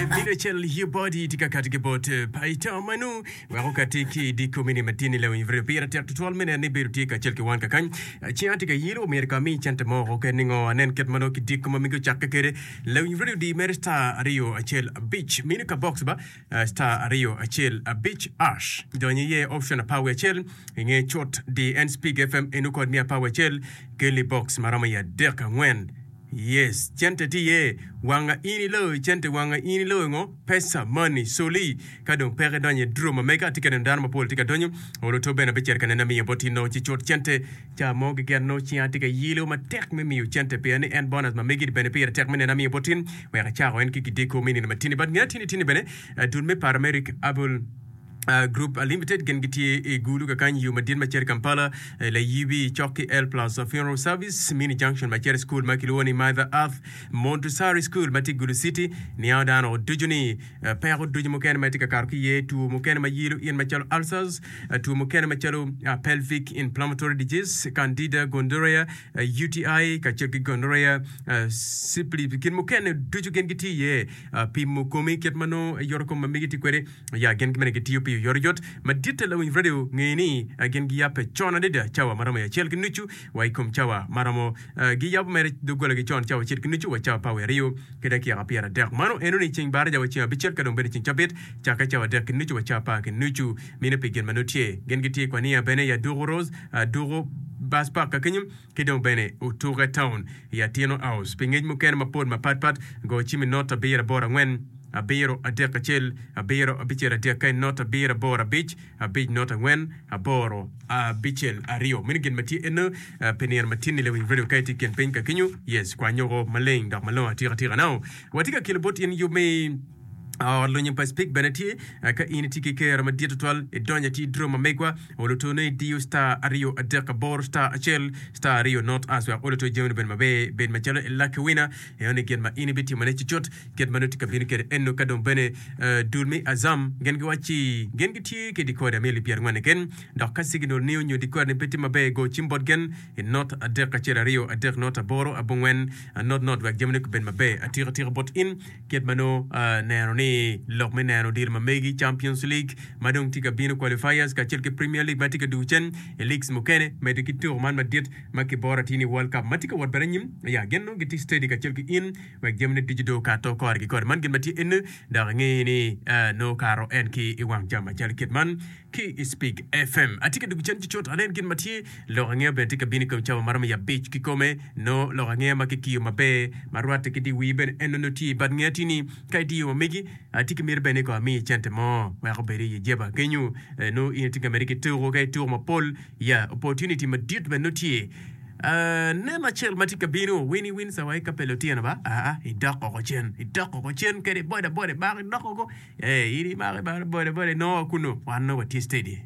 Mito acel your body tye ka kati ki bot Paita Manu wek okati ki i dye komini matini lawiny radio pire tek tutwal me neno ni bedo tye kacel ki wan kakany. Ceng atye ka yelo omyero ka ami cente mo oko kene ningo anen kit ma nongo ki dye koma mege ocakke kwede. Lawiny radio di mere star 215 mino ka box ba star 215 ash donyo iye option apar wiye acel inge cut di en speak FM eno kod miya apar wiye acel keli box maromo i adek angwen. Yes, cente tye iye, wanga in iloyo cente, wanga in iloyo ngo? Pesa, money, soli. Ka dong peke donyo i draw ma mega, atye ka neno dano mapol tye ka donyo, olo to bene abicito ka neno amiyo bot in nongo ci cut cente. Ca mo keken nongo cinga tye ka yelo matek me miyo cente pien ni en bonus ma megi bene pire tek me neno amiyo bot in wek acako en ki kideko me nino matini. But nge atini tini bene dul me paramedic able Group Limited gin gitye i Gulu kakany yo madit ma cito i Kampala, Layibi cok ki El Plus Funeral Service, Mini Junction ma cito i cukul ma kilwongo ni Mother Earth Montessori School ma tye i Gulu City. Niango dano ducu ni peko ducu mukene ma itye ka kato ki iye, two mukene ma yelo in macalo ulcers, two mukene macalo pelvic inflammatory disease, candida gonorrhea, UTI kacel ki gonorrhea, syphilis gin mukene ducu gin gitye iye. Pimo komi kit ma nongo yoto kom ma megi tye kwede. Ya gin bene gitiyo pi oyotoyot maditte lawiny radio nge ni gin giyabbe con adada cawa ma romo i acel ki nucu wa i kom cawa ma romo giyabo mere doggolagi con cawa acel ki nucu wa cawa apar wiye aryo ki dakika 30. Mano eno ni ceng baraja wa ceng abicel ka dong bedo ceng cabit cakke cawa adek ki nucu wa cawa apar ki nucu. Mino pi gin ma nongo tye. Gin gitye i Kwania bene i Aduku Rose, Aduku Bus Park ka kenyo ki dong bene Otuke Town i Atino House. Pi ngec mukene mapol mapatpat go cim i not abiro aboro angwen. Abiro, adek, acel, abiro, abicel, adek, ka not, abiro, aboro, abic, abic, not, angwen, aboro, abicel, aryo. Meno gin ma tye eno pi nino ma tin-ni lawiny radio ka itye i kin piny ka kenyo. Yes, kwany oko maleng dok malongo atika tika. Now, watye ka kelo bot in yub me ot lonyo pa Speke bene tye. Ka in itye ki kero madit tutwal, idonyo atir i draw ma megwa, olo to ne idiyo star aryo adek aboro star acel star aryo not as wek olo to jamini obed maber, bed macalo i lucky winner. Eno ni gin ma in ibitimone cucut. Kit ma nongo tye ka bino kwede eno ka dong bene dul me Azam gin giwacci gin gitye ki dikoda me alip pyerangwen keken dok ka signal ni onyo dikoda ni pe tye maber go cim bot gen i not adek acel aryo adek not aboro abongwen not not wek jamine kubed maber atika tika bot in kit ma nongo neno ni lok me neno odilo ma megi Champions League ma dong tye ka bino qualifiers kacel ki Premier League ma tye ka dugo cen i leagues mukene medo ki tuko man madit ma kiboro atir ni World Cup ma tye ka wot bene anyim ya gin nongo gitye steady kacel ki in Wek jamine ducu dong okato kore ki kore. Man gin ma tye eni, dok inge ni nongo okato en ki i wang jam macalo kit man ki i Spig FM. Atye ka dwogo cen cucut anen gin ma tye. Lok angeya bene tye ka bino i kom cawa ma romo i abic kikome. Nongo lok angeya ma kikiyo maber ma rwatte ki dye wii bene en nongo tye i bad ngeya tye ni ka idiyo wa megi atye ki miti bene ni kong amiyi cente mo wek obed i jeba kenyo. Nongo in itye ka medde ki tuko ka ituko mapol ya opportunity madit bene nongo tye. Neno acel ma tye ka bino, Winnie Windsor wa i kapel otyeno ba, aa, idok oko cen, idok oko cen kede boda boda imako idok oko, ee, in imako imako boda boda inongo wa kunu, wan nongo watye steady.